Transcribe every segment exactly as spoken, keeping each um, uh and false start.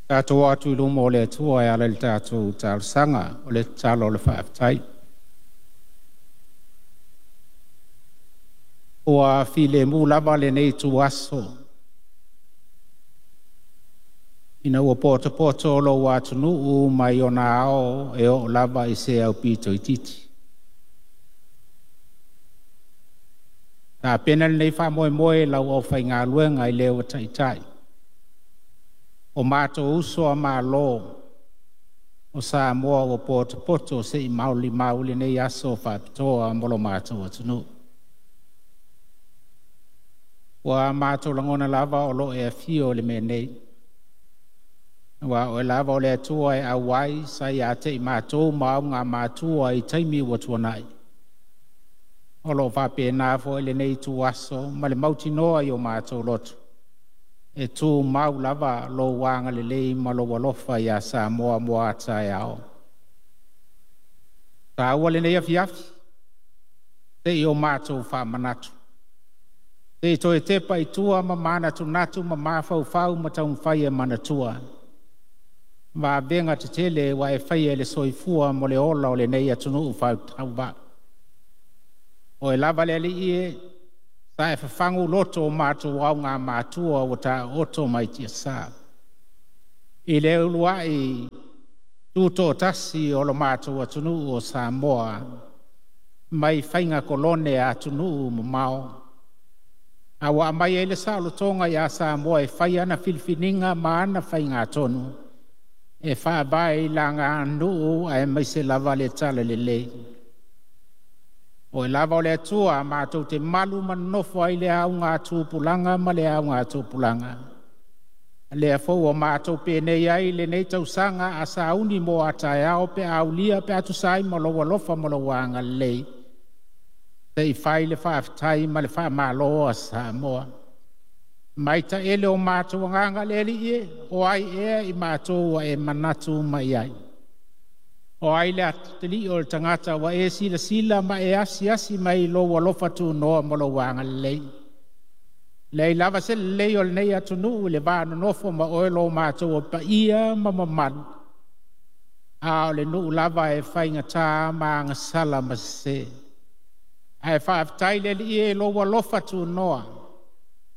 Tatou atu i luma o le Atua e ala i le tatou talosaga o le tatalo o le faafetai. Ua filemu lava lenei ituaso ina ua potopoto lou atunuu mai ona ao e oo lava i se aupito itiiti. Tapena lenei faamoemoe i lau aufaigaluega i le ua taitai o matou uso a Malo o Samoa ua potopoto se i molimau lenei aso faapitoa mo lo matou atunuu. Ua matou lagona lava o lo o e afio i le mea nei, aua o oe lava o le Atua e auai sa ia te i matou ma augamatua i taimi ua tuanai. O lo o faapena foi lenei ituaso ma le mautinoa i o matou loto, e tumau lava lou agalelei ma lou alofa ia Samoa mo a taeao. Taua lenei afiafi, se i o matou faamanatu, se i toe tepa i tua ma manatunatu ma mafaufau ma taumafai e manatua vavega tetele ua e faia i le soifua mo le ola o lenei atunuu faitauvaa. Oe lava le Alii e, sa e fafagu loto o matou augamatua ua taooto mai tiasa. I le uluai tutoatasi o lo matou atunuu o Samoa mai faiga kolone a atunuu mamao, a ua aumai ai le saolotoga ia Samoa e fai ana filifiliga ma ana faigatonu e faavae i laganuu aemaise lava le talalelei. Oe lava o le Atua matou te malu ma nonofo ai le augatupulaga ma le augatupulaga. Lea foi ua matou penei ai lenei tausaga a sauni mo a taeao pe a aulia pe a tusa ai ma lou alofa ma lou agalelei, se i fai le faafetai ma le faamalo a Samoa. Mai taele o matou agaga le Alii e, o ai ea i matou ua e manatu mai ai? O ai le atalii o le tagata ua e silasila ma e asiasi mai i lou alofa tunoa ma lou agalelei? Leai lava se lelei o lenei atunuu i le va nonofo ma oe lo matou paia ma mamalu, a o le nuu lava e faigata ma agasala ma sese. Ae faafetai le Alii e i lou alofa tunoa,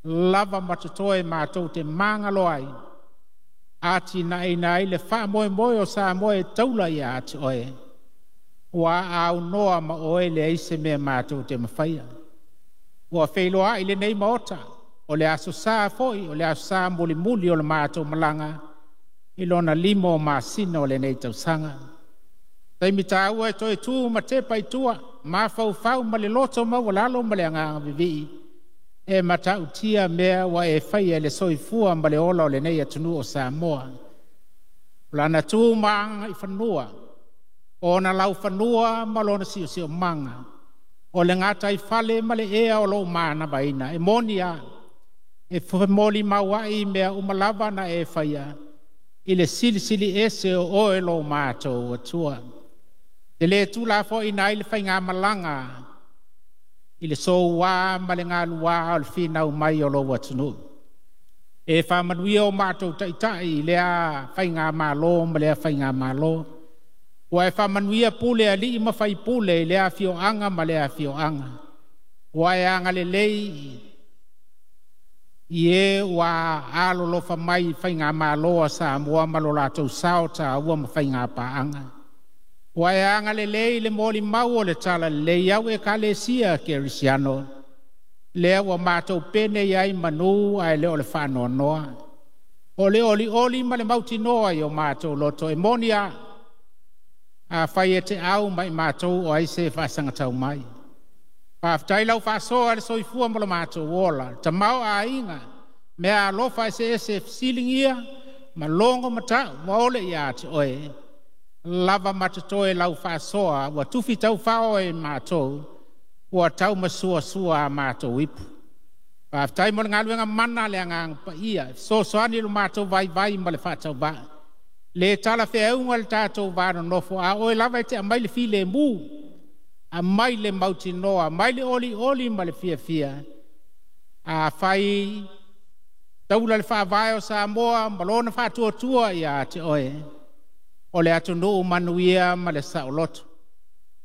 lava ma totoe matou te magalo ai, atinaeina ai le faamoemoe o Samoa e taula ia te oe, ua aunoa ma oe leai se mea matou te mafaia. Ua feiloai lenei Maota, o le aso sa foi, o le aso sa mulimuli o le matou malaga i lona lima o masina o lenei tausaga. Taimi taua e toe tu ma tepa i tua, mafaufau ma le loto maualalo ma le agaga vivii, e matautia mea ua e faia i le soifua ma le ola o lenei atunuu o Samoa. O lana tu ma agaifanua, o ona laufanua ma lona siosiomaga, o le gataifale ma le ea o lou manavaina, e moni lava, e molimau ai mea uma lava na e faia i le silisili ese o oe lo matou Atua. E le tuulafoaiina ai le faigamalaga i le soua ma le galua o le finau mai o lou atunuu. E faamanuia o matou taitai i lea faigamalo ma lea faigamalo. Ua e faamanuia pule alii ma faipule i lea afioaga ma lea afioaga. Ua e agalelei i e ua alolofa mai i faigamalo a Samoa ma lo latou sao taua ma faigapaaga. Ua e agalelei le molimau o le talalelei au Ekalesia Kerisiano, lea ua matou pene ai manu ae le o le faanoanoa. O le olioli ma le mautinoa i o matou loto e moni a, afai e te au mai matou o ai se faasagatau mai. Faafetai lau faasoa le soifua ma lo matou ola, tamao aiga, mea alofa eseese e fesiligia ma logo matau ma ole ia te oe. Lava ma totoe lau faasoa ua tufi taufao e matou, ua taumasuasua a matou ipu. Faafetai mo le galuega mana le agaga paia, e fesoasoani lo matou vaivai ma le faatauvaa. Le talafeauga le tatou va nonofo, a oe lava e te aumai le filemu, aumai le mautinoa, aumai le olioli ma le fiafia. Afai Taula le faavae o Samoa ma lona faatuatua ia te oe, o le atunuu manuia ma le saoloto.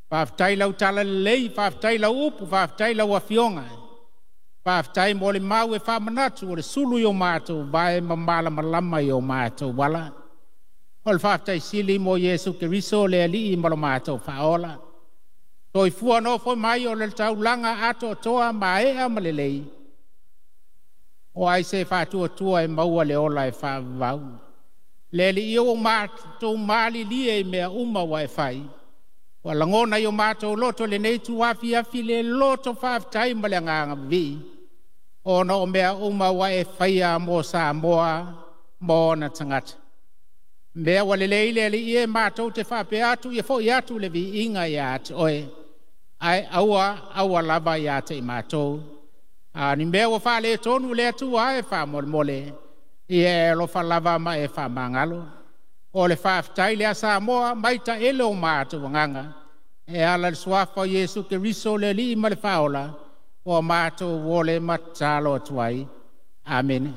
Faafetai lau talalelei, faafetai lau upu, faafetai lau afioga. Faafetai mo le mau e faamanatu o le sulu i o matou vae ma malamalama i o matou ala. O le faafetai sili mo Iesu Keriso le Alii ma lo matou faaola. Soifua nofo mai o le taulaga atoatoa maea ma lelei. O ai se faatuatua e maua le ola e faavavau. Le Alii ua matou malilie i mea uma ua e fai. Ua lagona i o matou loto lenei tuafiafi le loto faafetai ma le agaga vivii. Ona o mea uma ua e faia mo Samoa ma ona tagata. Mea ua lelei le Alii e matou te faapea atu ia foi atu le viiga ia te oe. Ae aua aua lava ia te i matou. A ni mea ua faaletonu le Atua e faamolemole, ia e alofa lava ma e faamagalo. O le faafetai lea Samoa mai taele o matou agaga. E ala i le suafa o Iesu Keriso le Alii ma le Faaola, ua matou ole ma tatalo atu ai. Amene.